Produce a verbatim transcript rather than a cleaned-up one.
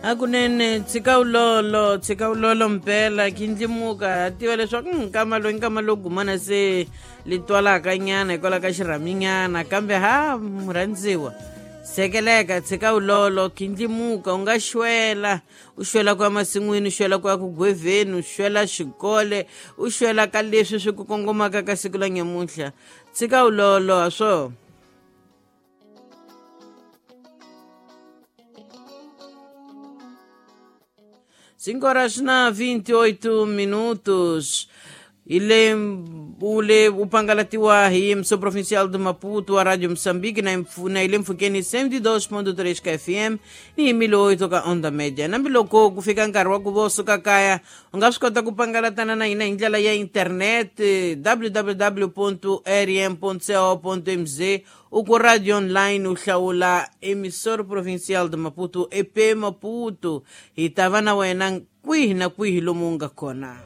Hakunene tshika wulolo, tshika wulolo mpela khindlimuka ha tiva leswaku nkama loyi nkama lowu gumana se li twalaka nyana hikwalaho ka xirhaminyana, kambe ha murhandziwa sekeleka, tshika wulolo, khindlimuka, u nga xwela, u xwela ku ya masin'wini, u xwela ku ya ku gwevheni, u xwela xikole, u xwela ka leswi swi ku kongomaka ka siku la nyamuntlha. Tshika wulolo ha swo. Cinco horas na vinte e oito minutos. Ile ule upangalatiwa hi emissão provincial de Maputo, a Rádio Moçambique, na, na ile mfukeni cento e dois ponto três K F M ni mil e oito ka onda média. Nambiloko ku fika nkarhi wa ku vo suka kaya, u nga swi kota ku pangalatana na hina hi ndlela ya internet w w w ponto r m ponto co ponto m z, u ku radio online u hlawula emissor provincial de Maputo, E P Maputo. Hi ta va na wena kwihi na kwihi lomu u nga kona.